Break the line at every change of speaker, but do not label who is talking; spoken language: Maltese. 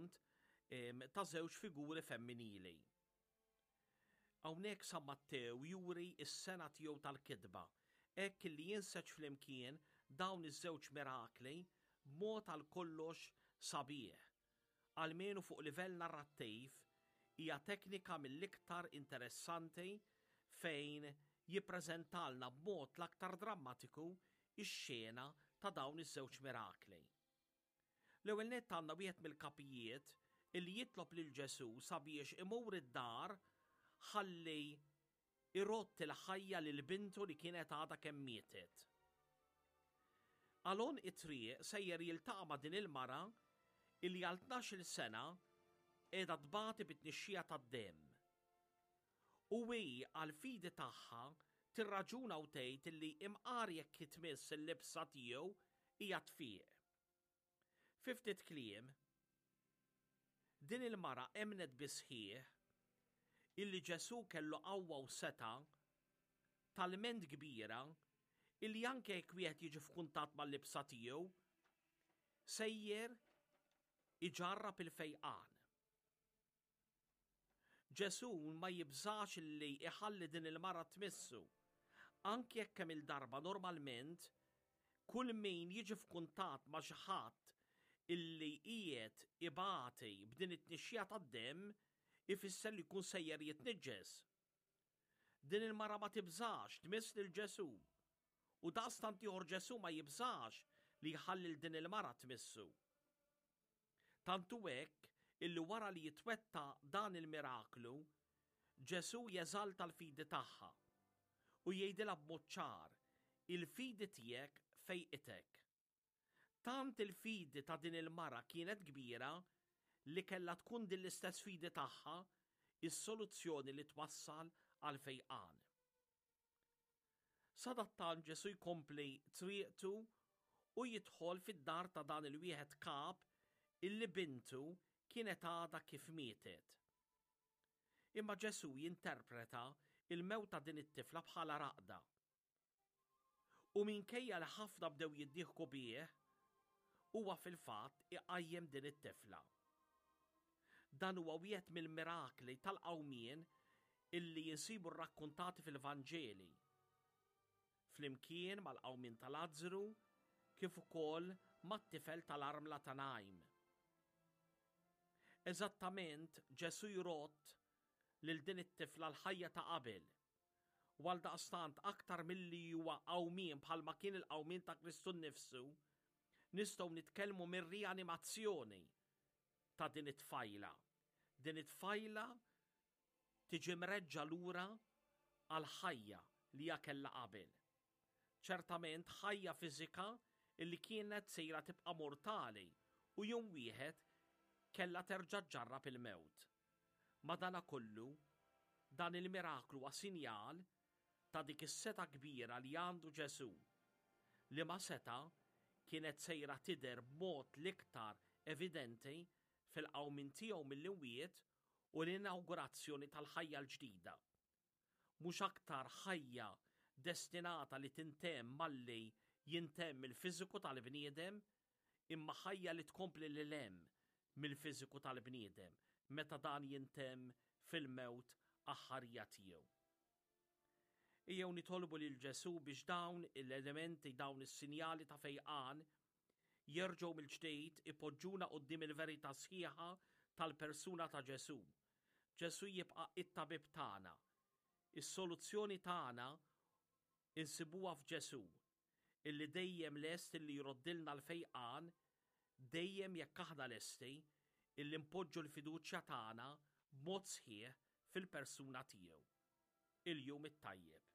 ir-rakkont ta' żewġ figuri femminili. Hawnhekk San Mattew juri s-sengħa tiegħu tal-kitba, hekk li jinseġ flimkien dawn iż-żewġ mirakli b'mod għal kollox sabiħ. Almenu fuq livell narrattiv, hija teknika mill-iktar interessanti fejn jippreżentalna b'mod l-aktar drammatiku x-xena ta' dawn iż-żewġ mirakli. L-ewwel nett għandna wieħed mill-kapijiet illi jitlob lil Ġesù sabiex imur id-dar ħalli irodd il-ħajja lil bintu li kienet għadha kemm mietet. Għal għonq it-triq sejjer jiltaqa' ma' din il-mara illi għal 12-il sena qiegħda tbati bit-tnixxija tad-demm. U hi għall-fidi tagħha tirraġuna u tgħid illi imqar jekk tmiss il-libsa tiegħu hija tfiq. Fi ftit kliem, din il-mara emmnet bis-sħiħ illi Ġesù kellu qawwa u setgħa talment kbira illi anke jekk wieħed jiġi f'kuntatt mal-libsa tiegħu, sejjer iġarrab il-fejqan. Ġesù ma jibżax li jħalli din il-mara tmissu, anki jekk kemm-il darba normalment kull min jiġi f'kuntatt ma' xi ħadd illi qiegħed ibati b'din it-tnixxija tad-demm ifisser li jkun sejjer jitniġġes. Din il-mara ma tibżax tmiss lil Ġesù u daqstant ieħor Ġesù ma jibżax li jħalli 'l din il-mara tmissu. Tant hu hekk illi wara li jitwettaq dan il-miraklu, Ġesù jeżalta l-fidi tagħha u jgħidilha b'mod ċar, Il-fidi tiegħek fejqitek. Tant il-fidi ta' din il-mara kienet kbira li kellha tkun din l-istess fidi tagħha s-soluzzjoni li twassal għall-fejqan. Sadattant Ġesù jkompli triqtu u jidħol fid-dar ta' dan il-wieħed kap illi bintu kienet għadha kif mietet. Imma Ġesù jinterpreta l-mewt ta' din it-tifla bħala raqda. U minkejja li ħafna bdew jiddieħku bih, huwa fil-fatt iqajjem din it-tifla. Dan huwa wieħed mill-mirakli tal-qawmien illi jinsibu rrakkuntati fil-Vanġeli. Flimkien mal-qawmien ta' Lazzru kif ukoll mat-tifel tal-armla ta' Najm. Eżattament Ġesù jrodd lil din it-tifla l-ħajja ta' qabel. U għaldaqstant aktar milli huwa qawmien bħalma kien il-qawmien ta' Kristu nnifsu, nistgħu nitkellmu mir-rianimazzjoni ta' din it-tfajla. Din it-tfajla tiġi mreġġa' lura għall-ħajja li hija kellha qabel. Ċertament ħajja fiżika li kienet sejra tibqa' mortali u jum wieħed kellha terġa' ġġarrab il-mewt. Madanakollu, dan il-miraklu huwa sinjal ta' dik is-setgħa kbira li għandu Ġesù, liema setgħa kienet sejra tidher b'mod l-iktar evidenti fil-qawmien tiegħu mill-imwiet u l-inawgurazzjoni tal-ħajja l-ġdida. Mhux aktar ħajja destinata li tintemm malli jintemm il-fiżiku tal-bniedem, imma ħajja li tkompli lil hemm mill-fiżiku tal-bniedem meta dan jintemm fil-mewt aħħarija tiegħu. Ejjew nitolbu lil Ġesù biex dawn l-elementi, dawn is-sinjali ta' fejqan jerġgħu mill-ġdid ipoġġuna quddiem il-verità sħiħa tal-persuna ta' Ġesù. Ġesù jibqa' it-tabib tagħna. Is-soluzzjoni tagħna insibuha f'Ġesù, illi dejjem lest illi jroddilna l-fejqan dejjem jekk aħna lesti illi npoġġu l-fiduċja tagħna b'mod sħiħ fil-persuna tiegħu. Il-jum it-tajjeb.